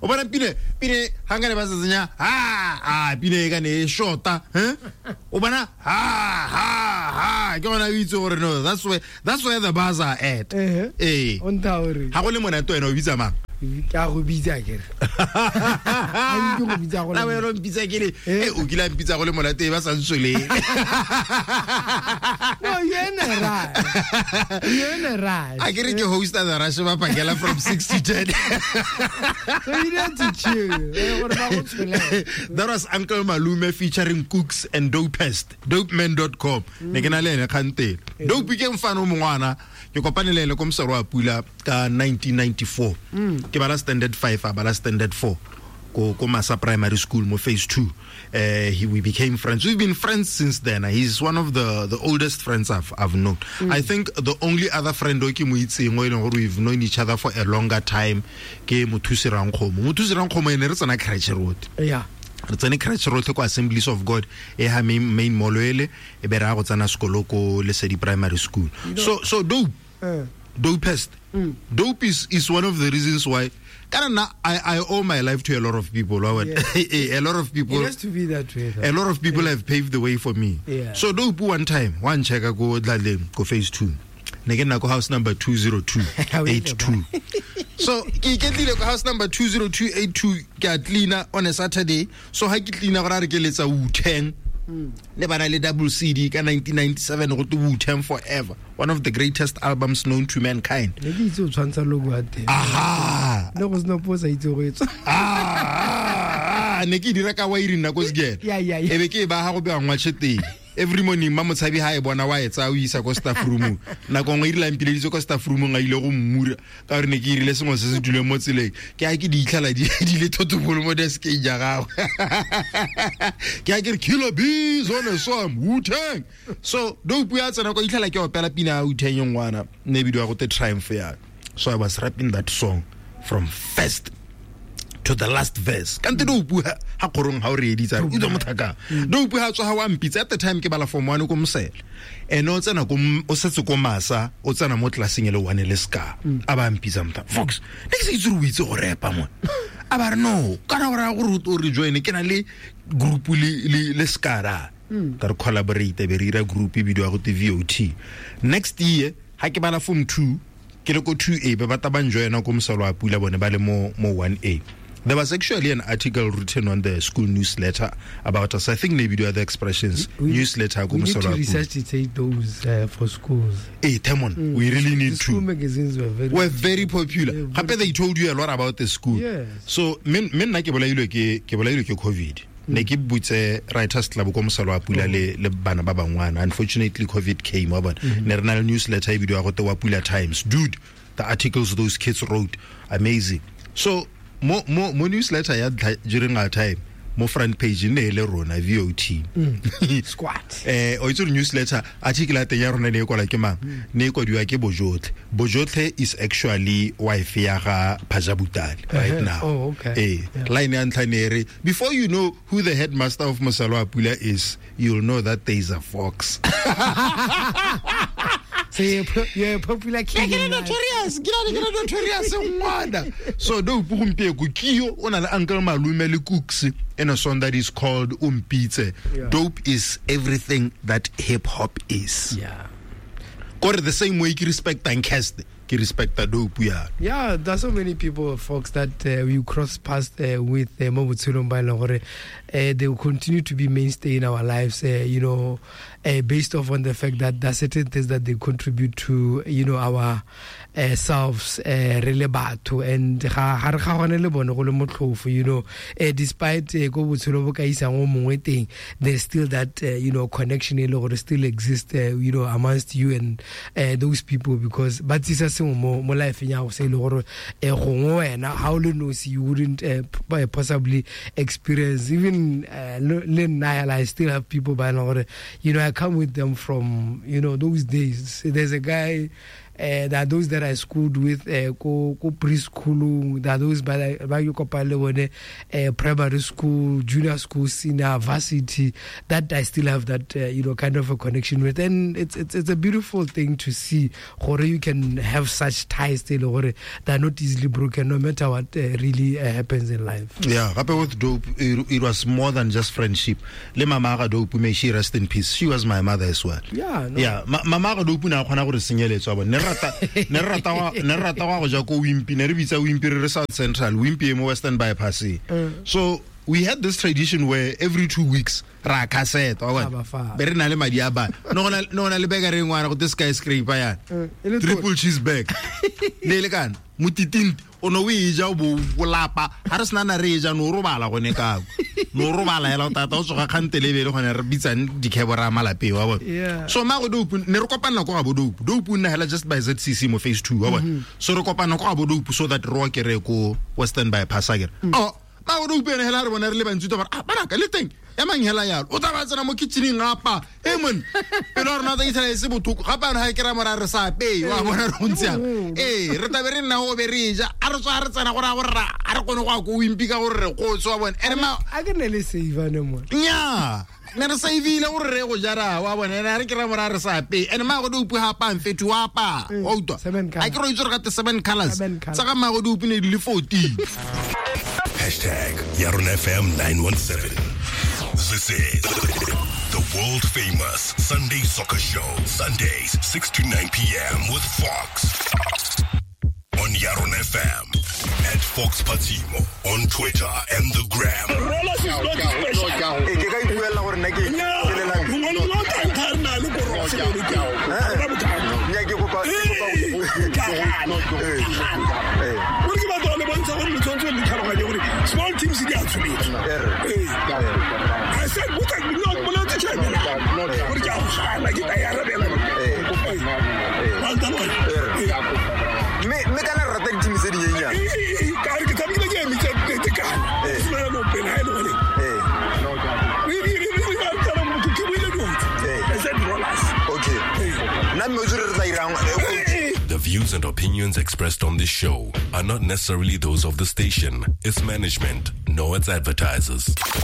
O bona pine pine ga nkane ba setsenya ha a pine e ka ne e shorta, eh? O bona ha ha ha ke gona o itse gore no, that's where the bars are at. Ee. O ntha gore Ga go le monate, wena o bitsa mang? Ke a go bitsa kere ga ke go bitsa go La wena o mpitsa ke le eh, o kile a mpitsa go le monate ba sa ntsweleng. No, you're in a rush, you're in a rush. A ke re ke hosta The Rush ba pakela from 6 to 10. So you need to chill, gore ba go tsholele. That was Uncle Malume featuring Cooks and Dopest, dopeman.com. Ne ke na le ene kgantele. Dope ke mfano o mongwana ke kopane le ene ko Mosero wa Pula ka 1994. Ke bala standard 5, a bala standard 4 ko Masa Primary School mo phase 2. We became friends. We've been friends since then. He's one of the oldest friends I've known. I think the only other friend o ke mo itseng o e leng gore we've known each other for a longer time ke Mothusi Rankgomo. Mothusi Rankgomo ene re tsena crèche road. Re tsene crèche rotlhe ko Assemblies of God e ha main mall ele, e be re ya go tsena sekolo ko Lesedi Primary School. So Dope, Dopest, Dope is one of the reasons why kana nna I owe my life to a lot of people, wa bona? A lot of people. It has to be that way, though. A lot of people have paved the way for me. So Dope one time one checka ko Dlaleng ko phase 2, ne ke nna ko house number 20282. So ke iketlile ko house number 20282, ke a cleaner on a Saturday. So ha ke cleaner, gore a re ke letsa Wu-Tang, ne ba na le double CD ka 1997 go te Wu-Tang Forever, one of the greatest albums known to mankind. Ne ke itse o tshwantsha logo ya teng. Aha. Le go sena po sa itse go e tswa. Ah, ne ke dira ka wairi nna ko sekele. Yeah. E be ke e ba ga go bewa ngwatšhe teng. Every morning ma motshabi ha e bona wa e tsaya o isa ko staff roomong. Nako nngwe e rile a mpileditse ko staff roomong, a ile go mmura ka gore ne ke irile sengwe se se duleng mo tseleng. Ke a ke di itlhela di le thotobolo mo deskeng ja gagwe. Ke a ke re Killer Bees on a song, Wu-Tang. So Dope ya tsena ko itlhela ke opela pina ya Wu-Tang e ngwana ne e bidiwa go te Triumph ya. So I was rapping that song from first to the last verse. Kante Dope ha kgorong ha o reeditsa re utlwa mothaka. Dope ha tswa ha wa mpitsa, at the time ke bala form 1 ko Mosele, ene o tsena ko o setse ko Masa, o tsena mo classeng e le one le ska. A ba mpitsa, motha Fox, ne ke se itse gore o itse go repa mo. A ba re no, kana gore a gore o re join, ke na le group le skara ka re collaborate, be re ira group e bidiwa go te VOT. Next year ha ke bala form 2, ke le ko 2A, ba batla ba njoina ko Mosalo wa Pula, bone ba le mo 1A. There was actually an article written on the school newsletter about us. I think maybe the other Expressions newsletter ko We need Mosalo to wa Pula. resuscitate those for schools. Eh, Temon, we really need The school to. magazines were very Were very popular. Yeah, Gape they told you a lot about the school. So me nna ke bolailwe ke COVID. Ne ke butse Writers Club ko Mosalo wa Pula le bana ba bangwana. Unfortunately COVID came, wa bona. Ne re na le newsletter e bidiwa go te wa Pula Times. Dude, the articles those kids wrote, amazing. So mo newsletter ya ntlha during our time, mo front page ne e le rona VOT. Squad. O itse gore newsletter article ya teng ya rona ne e kwala ke mang? Ne e kwadiwa ke Bojotlhe. Bojotlhe is actually wife ya ga Phaja Butale right now. Oh, okay. Eh, line ya ntlha ne e re, "Before you know who the headmaster of Mosalo wa Pula is, you'll know that there is a fox." So you're a popular kid Ke le in life. notorious, ke le notorious ngwana. So Dope gompieko kio o na le Uncle Malume le Cooks in a song that is called Umpitse. Dope is everything that hip hop is. Kore the same way ke respectang Cast, ke respecta Dope ya. Yeah, there's so many people, folks, that we cross paths with mo botshelong ba e leng gore they will continue to be mainstay in our lives, based off on the fact that there are certain things that they contribute to our selves, re le batho, and ga re ga gone le bone go le motlhofo, despite ko botshelo bo ka isang o mongwe teng, there's still that connection e le gore still exist amongst you and those people, because ba tsisa sengwe mo life ya go se e le gore gongwe wena ha o le nosi you wouldn't possibly experience. Even le nna hela, I still have people ba e leng gore I come with them from those days. There's a guy There are those that I schooled with ko preschoolong. There are those ba ke kopang le bone primary school, junior school, senior, varsity, that I still have that you know, kind of a connection with. And it's a beautiful thing to see gore you can have such ties tse e le gore they are not easily broken, no matter what really happens in life. Yeah, gape with Dope, it was more than just friendship. Le mama ga Dope, may she rest in peace. She was my mother as well. Yeah, no. Yeah, mama ga Dope ne a kgona gore senyeletso wa bone. Ne re rata go ja ko Wimpy, ne re bitsa Wimpy re re South Central, Wimpy e mo Western Bypass. So we had this tradition where every 2 weeks ra cassette, wa bona. Ah, ba. Be re na le madi a ba. No go na le burger e nngwe go te skyscraper yana. E le Triple cheese burger. Ne e le kana motitinte o ne o e ja o bo o lapa ga re sena na re e ja no o robala gone kako no o robala hela o tata o tsoga kgante le bele gone re bitsang dikhebo ra malapeng wa bona. So mago Dope ne re kopanela ko ga bo Dope. Dope o nna hela just by ZCC mo phase 2 wa bona. So re kopana ko ga bo Dope so that re okere ko Western Bypass akere. Oh, mago Dope ene hela re bona re le bantsi to ba re, ah banaka le teng ya mang hela yalo o tla ba tsena mo kitchening apa e mon pelo ya rona tsa itlhela e se bothoko gape ano ga e kry-a mora re sa apeye wa bona re go ntse yang ee re tlabe re nna go be re ja a re tswa re tsena gore a gore a re kgone go ya ko Wimpy ka gore re kgotse wa bone ene ma A ke ne le save ne mo. Nya ne re saveile gore re go jara wa bone ene a re kry-a mora re sa apeye ene maago Dope ga apang fetho wa apaya wa utlwa. Seven a ke re o itse gore gate seven colors Seven colours. Tsa ga maago Dope ne di le 14. Hashtag Yarona FM 917. This is the world famous Sunday Soccer Show. Sundays, 6 to 9 p.m. with Fox. On Yarona FM. At Fox Patimo on Twitter and the Gram. Rollers is not special. Ee, ke ka ipuelela gore nna ke No, ke lelang. ngwana lo tla ntha le ko rose le ke. Ra bothata. Nna ke kopa ke kopa Eh, ka gana. Eh. Gore ke batla go le bontsha gore le tshwanetse le tlhaloganye gore small teams di a tsholetsa. Erre. Ee. I said botsa no boletse chairman. Gore ke a go gana ke tla e arabela. Well done. Erre. Mme kana re rata di-team tse dinyenyane. Ee, ka re ke tshamekile ke emitse tekano. Eh. Simolola no pele ha e le gore Ee. ke buile dintho. Eh. I said Rollers. Okay, nna mme o tsere re tla irang coach? The views and opinions expressed on this show are not necessarily those of the station, its management, nor its advertisers.